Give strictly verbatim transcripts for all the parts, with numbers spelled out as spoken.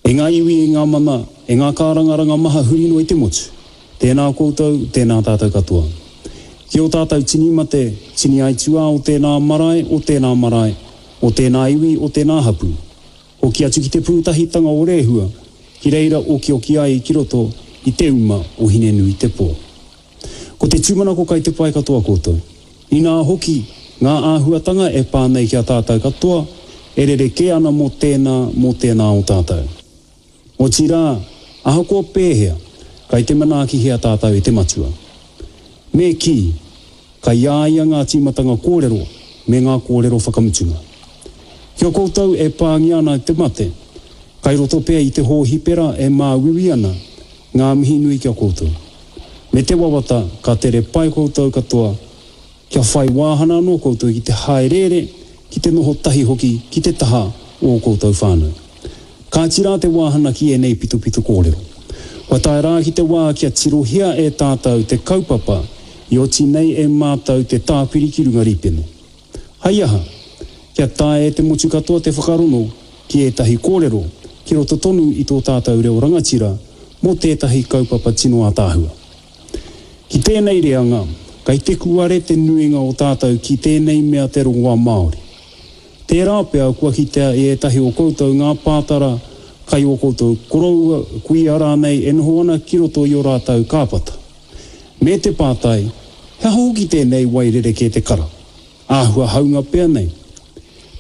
E ngā iwi, e ngā mana, e ngā kārangaranga maha huri noa i te motu, tēnā koutou, tēnā tātou katoa. Ki ō tātou tini mate, tini aituā o tēnā marae, o tēnā marae, o tēnā iwi, o tēnā hapū. Hoki atu ki te pūtahitanga o Rehua, ki reira okioki ai ki roto i te uma o Hinenuitepō. Ko te tūmanako kai te pai katoa koutou. Inā hoki, ngā āhuatanga e pā nei ki a tātou katoa, e rerekē ana mō tēnā, mō tēnā o tātou. Otirā, ahakoa pēhea, kai te manaakihia tātou e te Matua. Me kī, kai a ia ngā tīmatanga kōrero me ngā kōrero whakamutunga. Ki a koutou e pāngia ana e te mate, kai roto pea i te hōhipera e māuiui ana, ngā mihi nui ki a koutou. Me te wawata ka tere pai koutou katoa, kia whai wāhana anō koutou ki te hāereere, ki te noho tahi hoki ki te taha o ō koutou whānau. Kāti rā te wāhana ki ēnei pitopito kōrero. Kua tae rā ki te wā kia tirohia e tātou te kaupapa i oti nei e mātou te tāpiri ki runga rīpene. Hai aha? Kia taea e te motu katoa te whakarongo ki ētahi kōrero ki roto tonu i tō tātou reo rangatira mō tētahi kaupapa tino ātaahua. Ki tēnei reanga, kai te kuare te nuinga o tātou ki tēnei mea te rongoā Māori. Tērā pea kua kitea e ētahi o koutou ngā pātara kai ō koutou koroua, kuia rānei e noho ana ki roto i ō rātou kāpata. Me te pātai, he aha hoki tēnei wai rerekē te kara? Āhua haunga pea nei.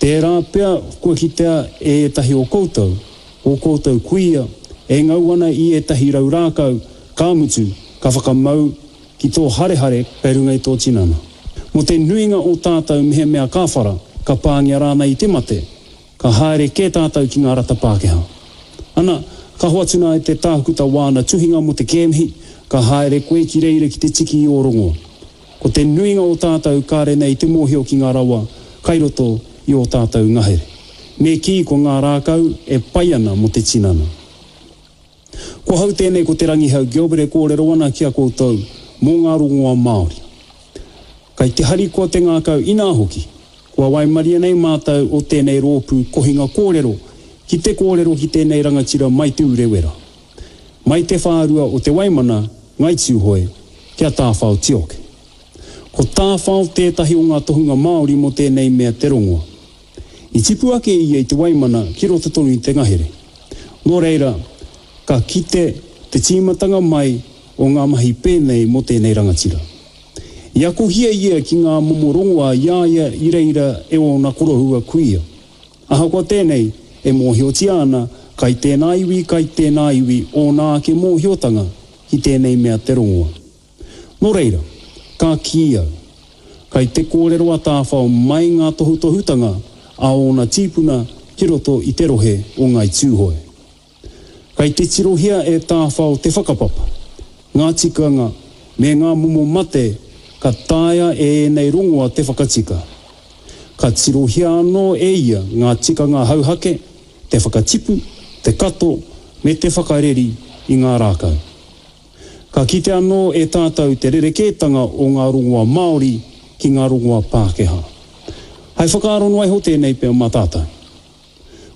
Tērā pea kua kitea e ētahi o koutou, ō koutou kuia, e ngau ana i ētahi rau rākau, ka mutu, ka whakamau ki tō harehare kei runga i tō tinana. Mō te nuinga o tātou mehemea ka whara, ka pāngia rānei i te mate, ka haere kē tātou ki ngā rata Pākehā. Ana, ka hoatu nā e te tākuta wāna tuhinga mō te kēmihi, ka haere koe ki reira ki te tiki i ō rongoa. Ko te nuinga o tātou kāre nei te mōhio ki ngā rawa kai roto i ō tātou ngahere. Me kī ko ngā rākau e pai ana mō te tinana. Ko hau tēnei ko Te Rangihau Gilbert e kōrero ana ki a koutou mō ngā rongoā Māori. Kai te harikoa te ngākau inā hoki, kua waimarie nei mātou o tēnei rōpū kohinga kōrero ki te kōrero ki tēnei rangatira mai Te Urewera, mai te whārua o Te Waimana, Ngai Tūhoe, ki a Tāwhao Tioke. Ko Tāwhao tētahi o ngā tohunga Māori mō tēnei mea te rongoa. I tipu ake ia i Te Waimana ki roto tonu i te ngahere. Nō reira, ka kite te tīmatanga mai o ngā mahi pēnei mō tēnei rangatira. I akohia ia ki ngā momo rongoa i a ia i reira e ōna koroua kuia. Ahakoa tēnei, e mōhiotia ana kai tēnā iwi, kai tēnā iwi ōna ake mōhiotanga ki tēnei mea te rongoa. Nō reira, ka kī au, kai te kōrero a Tāwhao mai ngā tohutohutanga a ōna tīpuna ki roto i te rohe o Ngāi Tūhoe. Kai te tirohia e Tāwhao te whakapapa, ngā tikanga me ngā momo mate ka taea e ēnei rongoa te whakatika. Ka tirohia anō e ia ngā tikanga hauhake, te whakatipu, te kato me te whakareri i ngā rākau. Ka kite anō e tātou te rerekētanga o ngā rongoā Māori ki ngā rongoā Pākehā. Hai whakaaro noa iho tēnei pea mā tātou.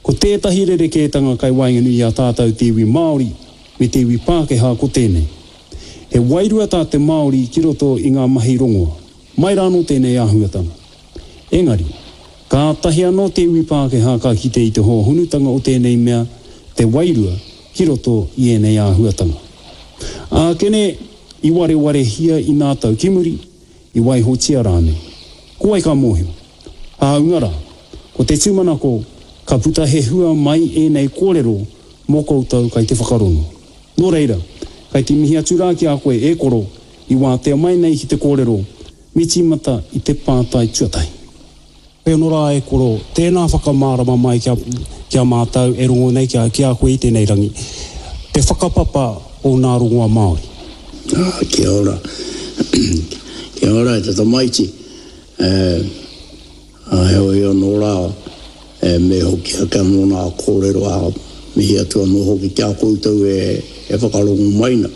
Ko tētahi rerekētanga kai waenganui i a tātou te iwi Māori me te iwi Pākehā ko tēnei. He wairua tā te Māori ki roto i ngā mahi rongoā. Mai rānō tēnei āhuatanga. Engari, kātahi anō te iwi Pākehā ka kite i te hōhonutanga o tēnei mea te wairua ki roto i ēnei āhuatanga. Ākene i warewarehia i nā tau ki muri, i waihotia rānei. Ko wai ka mōhio? Hāunga rā, ko te tūmanako ka puta he hua mai ēnei kōrero mō koutou kai te whakarongo. Nō reira, kai te mihi atu rā ki a koe e koro i wātea mai nei ki te kōrero, me tīmata i te pātai tuatahi. Hoi anō rā e koro, tēnā whakamārama mai ki a, ki a mātou e rongo nei ki a, ki a koe i tēnei rangi, te whakapapa o nā rongoa Māori. Ah, kia ora. Kia ora e te tamaiti. E, a heoi anō rā, e, me hoki ake anō nā kōrero a mihi atu anō hoki ki a koutou e, e whakarongo mai na.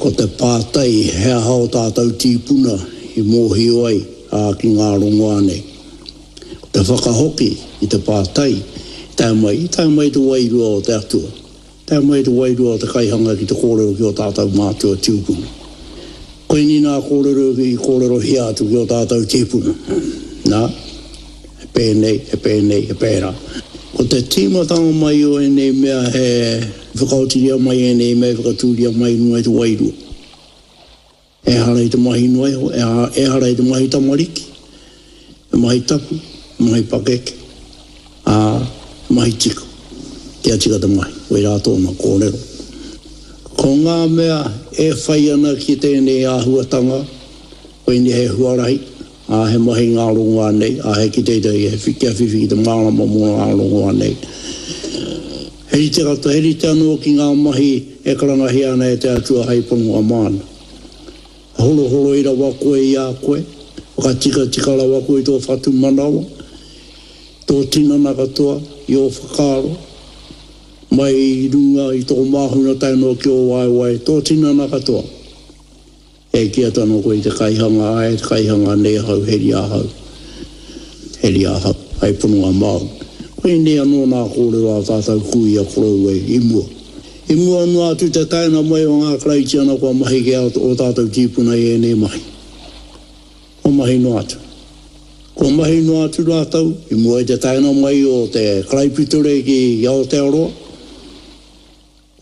Ko te pātai he aha o tātou tīpuna i mōhio ai ā, ki ngā rongoā nei. Ko te whakahoki i te pātai Tae mai, i tae mai te wairua o te Atua. Tae mai te wairua o te kaihanga ki te kōrero ki o tātou mātua tūpuna. Koinei nā kōrero i kōrerohia atu ki o tātou tīpuna. Nā, he pēnei, he pēnei, he pērā. Ko te tīmatanga mai o ēnei mea he whakaotiria mai ēnei mea, whakatūria mai runga i te wairua. Ehara i te mahi noa iho, ehara i te mahi tamariki, he mahi tapu, he mahi pakeke, ā, he mahi tika. Kia tika te mahi, koirā tōna kōrero. Ko ngā mea e whai ana ki tēnei āhuatanga, koinei he huarahi, ā, he mahi ngā rongoā nei, ā, he kite i te, he kia whiwhi ki te mārama mō ngā rongoā nei. He rite katoa, he rite anō ki ngā mahi e karangahia ana e te Atua hei pononga māna. Horohoroi rawa koe i a koe, whakatikatika rawa koe i tō whatumanawa, tō tinana katoa, i ō whakaaro, mai i runga i tō māhunga tae noa ki ō waewae, tō tinana katoa. E kī atu anō koe i te kaihanga, āe, te kaihanga nei ahau, heri ahau, heri ahau, hei pononga māu. Koinei anō nā kōrero a tātou kuia koroua i mua. I mua noa atu te taenga mai o ngā Karaitiana kua mahi ki ō tātou tīpuna i ēnei mahi. Kua mahi noa atu. Kua mahi noa atu rātou i mua i te taenga mai o te karaipiture ki Aotearoa.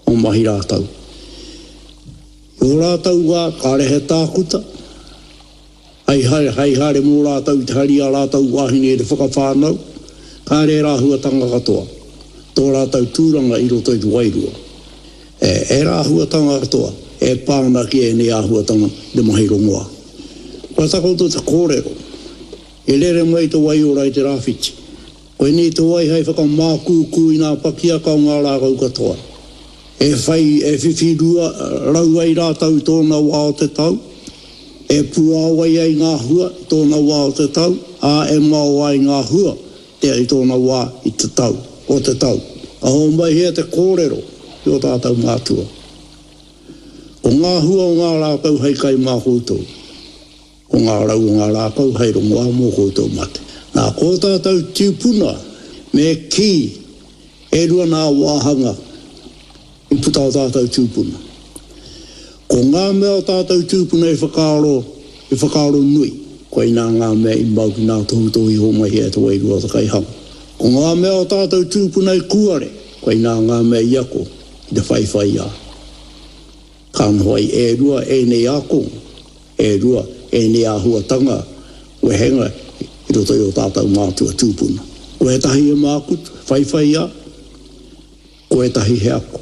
Kua mahi rātou. I ō rātou wā, kāre he tākuta, hei haere, hei haere mō rātou i te hari a rātou wāhine i te whakawhānau, kāre ērā āhuatanga katoa, tō rātou tūranga i roto i te wairua. E, ērā āhuatanga katoa e pā ana ki ēnei āhuatanga i te mahi rongoā. Kua takoto te kōrero, i rere mai te waiora i te rāwhiti. Koinei te wai hei whakamākūkū i ngā pakiaka o ngā rākau katoa. E whai, e whiwhi rua rau ai rātou i tōna wā o te tau, e puāwai ai ngā hua i tōna wā o te tau, ā, e mao ai ngā hua te i tōna wā i te tau, o te tau. Ka hōmaihia te kōrero ki ō tātou mātua. Ko ngā hua o ngā rākau hei kai mā koutou, ko ngā rau o ngā rākau hei rongoā mō koutou mate. Nā, ko ō tātou tūpuna me kī e rua nā wāhanga i puta o tātou tūpuna. Ko ngā mea o tātou tūpuna i whakaaro, i whakaaro nui, koinā ngā mea i mau ki ngā tohutohu i hōmai e te wairua o te kaihanga. Ko ngā mea o tātou tūpuna i kūare, koinā ngā mea i ako ki te whaiwhai a. Ka noho ai e rua ēnei ākonga, e rua ēnei āhuatanga wehenga i roto i o tātou mātua tūpuna. Ko ētahi e mākutu, whaiwhai a, ko ētahi he ako,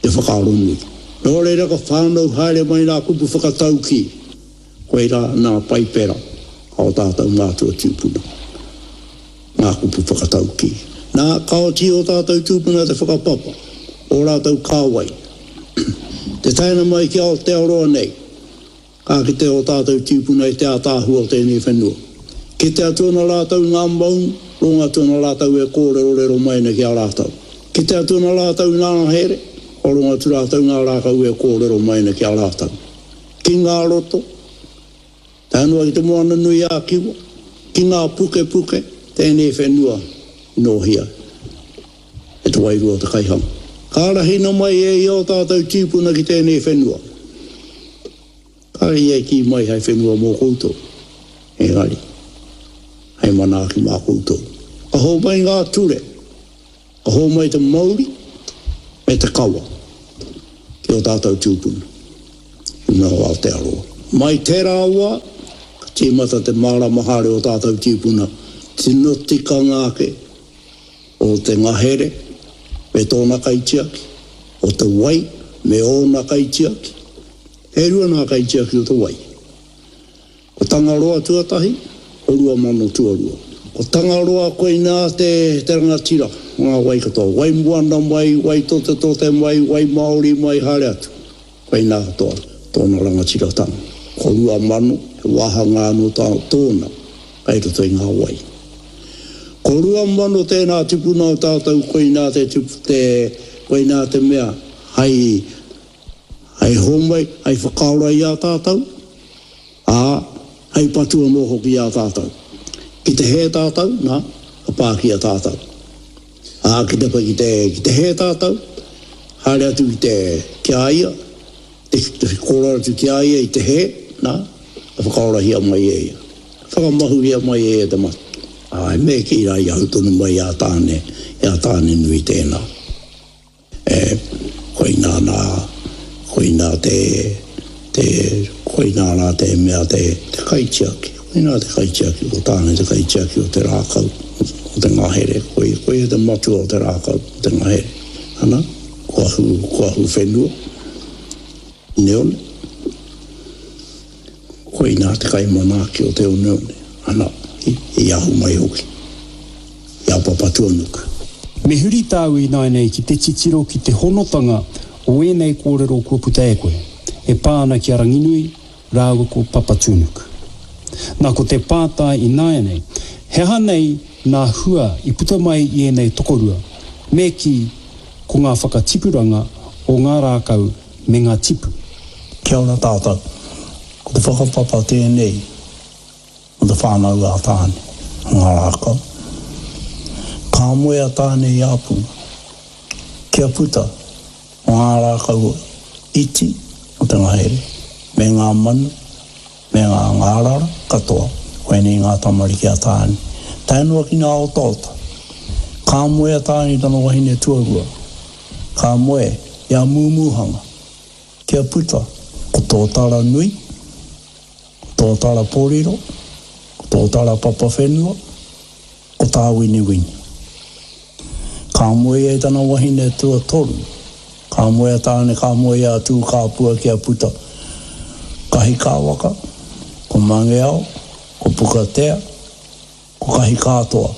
te whakaaro nui. Nō reira ka whānau haere mai nā kupu whakataukī, koirā nā paipera a o tātou mātua tūpuna, ngā kupu whakataukī. Nā, ka oti o tātou tūpuna te whakapapa, o rātou kāwai. Te taenga mai ki Aotearoa nei, ka kite o tātou tūpuna i te ātaahua o tēnei whenua. Kite atu ana rātou i ngā maunga, rongo atu ana rātou e kōrerorero mai ana ki a rātou. Kite atu ana rātou i ngā ngahere, kua rongo atu rātou ngā rākau e kōrero mai ana ki a rātou. Ki ngā roto, tae noa ki te moana nui a Kiwa, ki ngā pukepuke, tēnei whenua i nōhia e te wairua o te kaihanga. Ka arahina mai e ia o tātou tīpuna ki tēnei whenua. Kāre ia i kī mai hei whenua mō koutou, engari, hei manaaki mā koutou. Ka hōmai ngā ture, ka hōmai te mauri me te kawa ki o tātou tūpuna i runga o Aotearoa. Mai tērā wā, ka tīmata te mārama haere o tātou tīpuna, tino tikanga ake o te ngahere me tōna kaitiaki, o te wai me ōna kaitiaki. E rua ngā kaitiaki o te wai. Ko Tangaroa tuatahi, ko Ruamano tuarua. Ko Tangaroa koinā te, te rangatira o ngā wai katoa. Wai moana mai, wai totetote mai, wai Māori mai, haere atu. Koinā katoa tōna rangatiratanga. Ko Ruamano, he wāhanga anō tā, tōna kei roto i ngā wai. Ko Ruamano tēnā tipuna o tātou, koinā te, te, koinā te mea hei hei hōmai, hei whakaora i a tātou, ā, hei patu anō hoki i a tātou. Ki te hē tātou, nā, ka pākia tātou. Ā, ki te, ki te, ki te hē tātou, haere atu ki te, ki a ia, te, te kōrero atu ki a ia i te hē, nā, ka whakaorahia mai e ia. Whakamahuria mai e ia te mate. Āe, me kī rā i ahu tonu mai i a Tāne, i a Tānenui tēnā. E, koinā nā, koinā te, te, koinā rā te mea te, te kaitiaki. Koinā te kaitiaki, ko Tāne te kaitiaki o te rākau, o te ngahere. Koi, koia te matua o te rākau, o te ngahere. Ana, ko ahu, ko ahu whenua, oneone. Koinā te kaimanaaki o te oneone. Ana, i, i ahu mai hoki, i a Papatūānuku. Me huri tāu ināianei ki te titiro ki te honotanga o ēnei kōrero kua puta e koe, e pā ana ki a Ranginui rāua ko Papatūānuku. Nā, ko te pātai ināianei, he aha nei nā hua i puta mai i ēnei tokorua, me kī, ko ngā whakatipuranga o ngā rākau me ngā tipu? Kia ora tātou. Ko te whakapapa tēnei o te whānau a Tāne, ngā rākau. Ka moe a Tāne i a Punga, kia puta ko ngā rākau iti o te ngahere, me ngā manu, me ngā ngārara katoa, koinei ngā tamariki a Tāne. Tae noa ki ngā otaota. Ka moe a Tāne i tana wahine tuarua, ka moe i a Mūmūhanga, kia puta ko Tōtara nui, ko Tōtara pōriro, ko Tōtara papawhenua, ko Tāwiniwini. Ka moe ia i tana wahine tuatoru, ka moe a Tāne, ka moe i a Tūkāpua kia puta Kahikāwaka, ko Mangeao, ko Pukatea, ko Kahikātoa.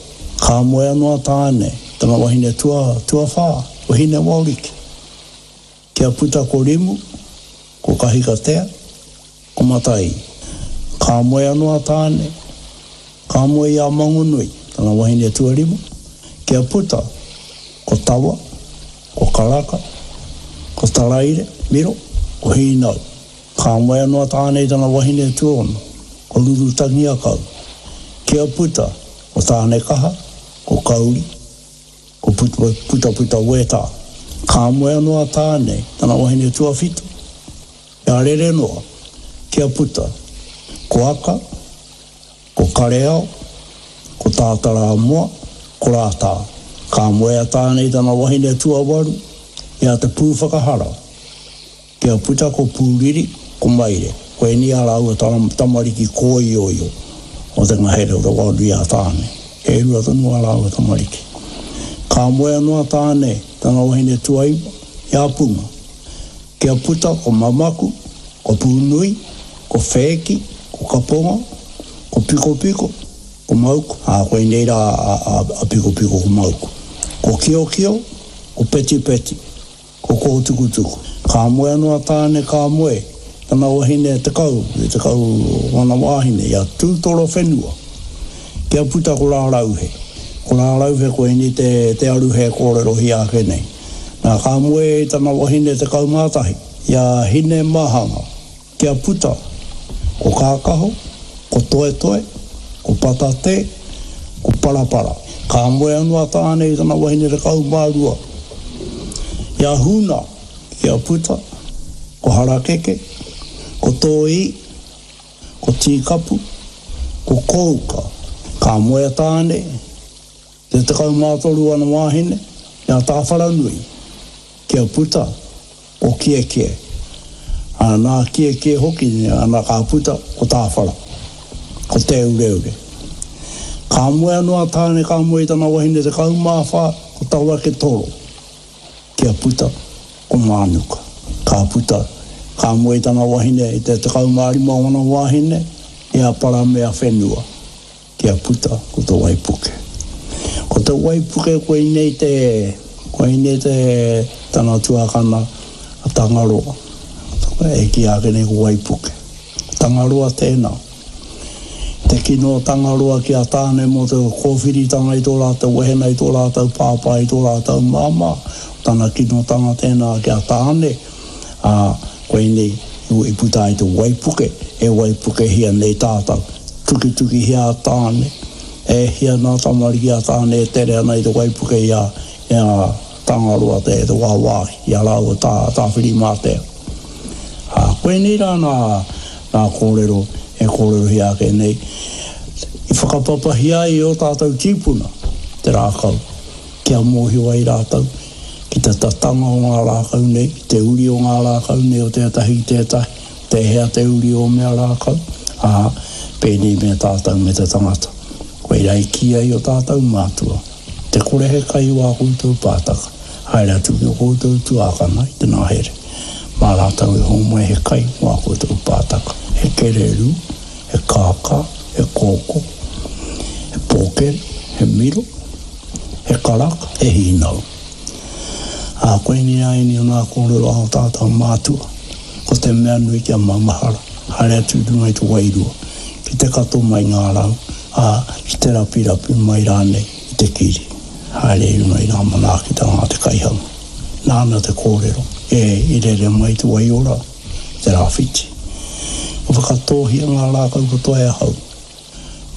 Ka moe anō a Tāne, tana wahine tua, tuawhā, ko Hinewaoriki. Kia puta ko Rimu, ko Kahikatea, ko Matai. Ka moe anō a Tāne, ka moe i a Mangonui, tana wahine tuarima, kia puta ko Tawa, ko Karaka, ko Taraire, Miro, ko Hīnau. Ka moe anō a Tāne i tana wahine tuaono, ko Rurutangiakau. Kia puta ko Tānekaha, ko Kauri, ko Putaputa Wētā. Ka moe anō a Tāne, tana wahine tuawhitu, i a Rerenoa, kia puta ko Aka, ko Kareao, ko Tātarāmoa, ko Rātā. Ka moe a Tāne i tana wahine tuawaru, i a Te Pūwhakahara, kia puta ko Pūriri, ko Maire. Koinei ā rāua tamariki kōioio o te ngahere o te Waonui a Tāne. E rua tonu ā rāua tamariki. Ka moe anō a Tāne, tana wahine tuaiwa, i a Punga. Kia puta ko Mamaku, ko Pūnui, ko Whēki, ko Kaponga, ko Pikopiko, ko Mauku. Ā, koinei rā a Pikopiko ko Mauku. Ko Kiokio, ko Petipeti, ko Kōtukutuku. Ka moe anō a Tāne, ka moe tana wahine tekau, te tekau o ana wāhine, i a Tūtorowhenua. Kia puta ko Rārauhe. Ko Rārauhe koinei te, te aruhe kōrerohia ake nei. Nā, ka moe tana wahine tekau mā tahi, i a Hinemahanga. Kia puta ko Kākaho, ko Toetoe, ko Patatē, ko Parapara. Ka moe anō a Tāne i tana wahine tekau mā rua, i a Huna, kia puta ko Harakeke, ko Tōī, ko Tīkapu, ko Kouka. Ka moe a Tāne, te tekau mā toru ana wāhine, i a Tāwharanui, kia puta ko Kiekie. Ā, nā Kiekie hoki, ana ka puta ko Tāwhara, ko Te Ureure. Ka moe anō a Tāne, ka moe i tana wahine tekau mā whā, ko Tawaketoro, kia puta ko Mānuka. Ka puta, ka moe i tana wahine i te tekau mā rima o ana wāhine, i a Paramea whenua, kia puta ko Te Waipuke. Ko Te Waipuke koinei te, koinei te tana tuakana a Tangaroa. E kīia ake nei ko Waipuke. Tangaroa tēnā. Te kino o Tangaroa ki a Tāne mō te kōwhiritanga i tō rātou wehena, i tō rātou pāpā, i tō rātou māmā. Tana kinotanga tēnā ki a Tāne, ā, koinei i puta ai te waipuke, e waipukehia nei tātou. Tukitukihia a Tāne, e hia nā tamariki a Tāne e tere ana i te waipuke i a, e a Tangaroa te, te wāwāhi i a rāua tā, Tāwhirimātea. Ā, koinei rā nā, nā kōrero e kōrerohia ake nei, i whakapapahia ai e ō tātou tīpuna te rākau, kia mōhio ai rātou ki te tatanga o ngā rākau nei, ki te uri o ngā rākau nei o tētahi ki tētahi, tēhea te uri o mea rākau, ā, pēnei me tātou me te tangata. Koirā i kī ai ō tātou mātua, Te kore he kai i wā koutou pātaka, haere atu ki ō koutou tuākana i te ngahere. Mā rātou e hōmai he kai wā koutou pātaka, he kererū, he kākā, he kōkō, he pōkere, he miro, he karaka, he hīnau. Ā, koinei rā ēnei o ngā kōrero a ō tātou mātua, ko te mea nui kia maumahara, haere atu i runga i te wairua, ki te kato mai ngā rau, ā, ki te rapirapi mai rānei i te kiri, haere i runga i ngā manaakitanga a te kaihanga. Nāna te kōrero, e, i rere mai te waiora i te rāwhiti. Kua whakatōhia ngā rākau katoa e ahau.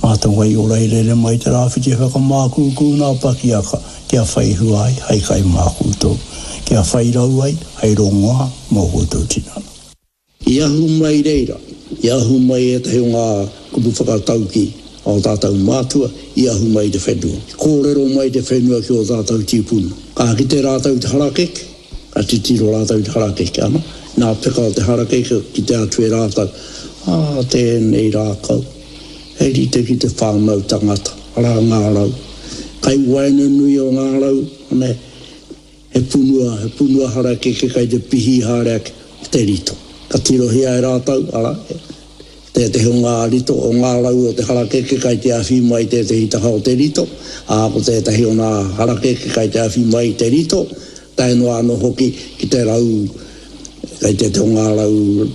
Mā te waiora i rere mai te rāwhiti e whakamākūkū ngā pakiaka kia whai hua ai hei kai mā koutou, kia whai rau ai hei rongoā mō koutou tinana. I ahu mai reira, i ahu mai ētahi o ngā kupu whakataukī a ō tātou mātua, i ahu mai i te whenua. I kōrero mai te whenua ki ō tātou tīpuna. Ka kite rātou i te harakeke, ka titiro rātou i te harakeke, ana, nā peka o te harakeke kite atu e rātou, ā, tēnei rākau, he rite ki te whānau tangata, arā ngā rau. Kai waenganui o ngā rau, ana, He punua, he punua harakeke kai te pihī haere ake o te rito. Ka tirohia e rātou, arā, tētehi o ngā rito, o ngā rau o te harakeke kai te awhi mai tētehi taha o te rito, ā, ko tētehi o ngā harakeke kai te awhi mai i te rito, tae noa anō hoki ki te rau, kai tētehi o ngā rau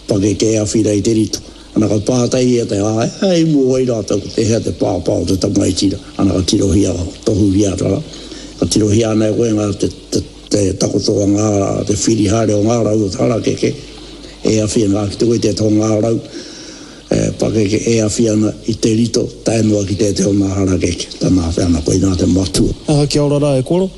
pakeke e awhi rā i te rito. Ana ka pātai ia te āe, āe i mō wai rātou ko tēhea te pāpā o te tamaiti rā. Ana ka tirohia, ka tohuhia atu rā. Ka tirohia ana e koe ngā te, te, te takoto o ngā, te whiri haere o ngā rau o te harakeke e awhi ana ki te koe tētahi o ngā rau e pakeke e awhi ana i te rito tae noa ki tētahi o ngā harakeke. Tana awhi ana koinā te matua. Aha, kia ora rā e koro.